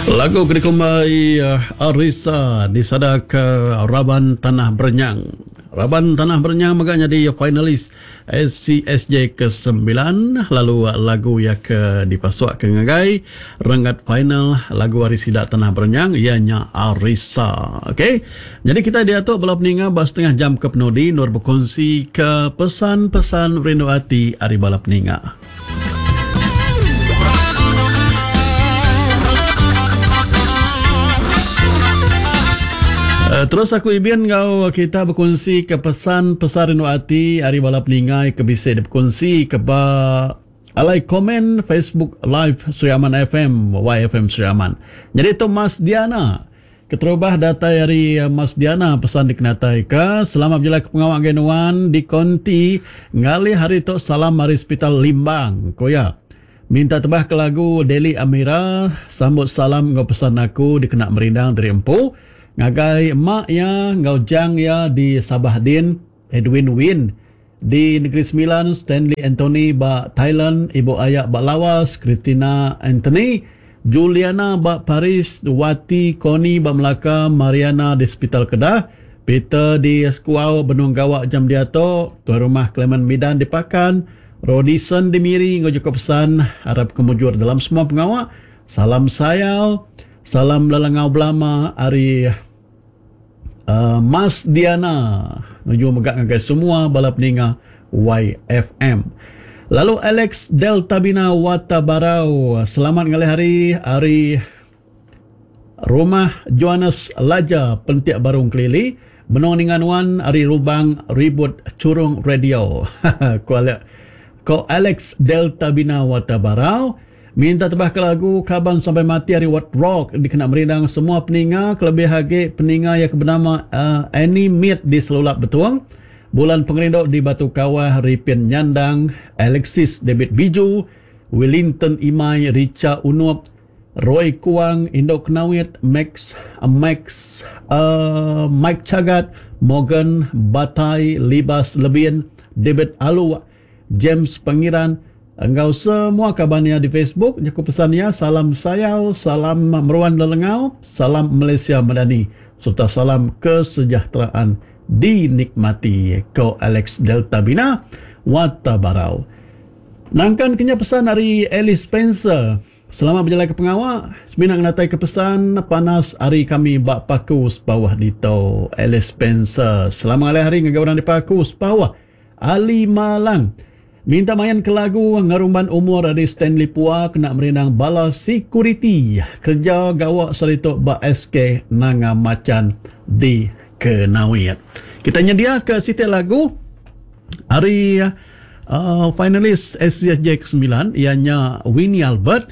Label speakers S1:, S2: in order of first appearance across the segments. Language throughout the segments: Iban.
S1: Lagu ke dikumbai Arisa disadaka raban Tanah Berenyang. Raban Tanah Berenyang mega nyadi finalis SCSJ ke sembilan lalu lagu iya ke dipasukka ngagai renggat final lagu ari sida Tanah Berenyang iya nya Arisa. Okey. Nyadi kitai diatu bala peninga ba setengah jam ke penudi endur bekunsika pesan-pesan rindu ati ari bala peninga. Terus aku ibin enggau kita bekunsi ke pesan pesan rindu ati ari bala peningai ke bisi dipekunsi ke ba alai komen Facebook Live Sri Aman FM YFM Sri Aman. Nyadi tu Mas Diana. Keterubah datai ari Mas Diana pesan dikenataika, Selamat bejalai ke pengawa ngagai nuan di konti ngalih hari tu salam ari Sepital Limbang, ku iya. Minta tebah ke lagu Deli Amira, sambut salam enggau pesan aku dikena merindang diri empu ngagai mak iya enggau jang iya di Sabah din, Edwin Win di Negeri Sembilan, Stanley Anthony ba Thailand, Ibu Aya ba Lawas, Christina Anthony, Juliana ba Paris, Wati Connie ba Melaka, Mariana di Sepital Kedah, Peter di Sekuau benung gawa jam diatu, Tuai Rumah Clement Midan di Pakan, Rodison di Miri enggau jaku pesan arap ke mujur dalam semua pengawa. Salam sayau, salam lelengau belama ari. Mas Diana nuju mega ngagai semua bala peninga YFM. Lalu Alex Deltabina Watabarau selamat ngalih hari ari Rumah Johannes Laja Pentik Barung Kelili benung ninga nuan ari Rubang Ribut Churung Radio. Ku Alex ko Alex Deltabina Watabarau. Minta tebah ke lagu Kaban Sampai Mati ari Wat Rock dikena merindang semua peninga kelebih agi peninga iya ke benama Annie Mit di Selulap Betong, Bulan Pengerindu di Batu Kawah Ripin Nyandang, Alexis David Biju, Willington Imai, Richa Unup, Roy Kuang, Indu Kenawit, Max Max Mike Chagat, Morgan Batai, Libas Lebin, David Aluk, James Pengiran enggau semua kaban iya di Facebook jaku pesan iya salam sayau salam meruan lelengau salam Malaysia Madani sereta salam kesejahteraan dinikmati ko Alex Delta Bina Wata Barau. Nangkan ke nya pesan ari Alice Spencer selamat bejalai ke pengawa semina ngenatai ke pesan panas ari kami ba Paku Sepauh ditu Alice Spencer selamat ngalih hari ngagai orang di Paku Sepauh. Ali Malang minta main ke lagu Ngerumban Umur ari Stanley Pua kena merindang bala sekuriti kereja gawa sehari tu ba SK Nanga Machan di Kenawit. Kita nyediaka siti lagu ari uh, finalis SCSJ ke-9 iya nya Winnie Albert.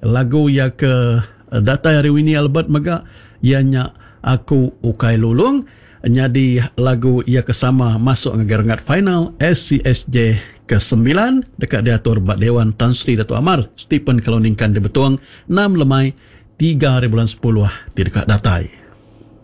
S1: Lagu iya ke datai ari Winnie Albert mega iya nya Aku Ukai Lulung. Nyadi lagu iya ke sama masuk ngagai renggat final SCSJ ke sembilan deka diatur ba Dewan Tan Sri Datuk Amar Stephen Kalong Ningkan di Betong enam lemai tiga hari bulan sepuluh ti deka datai.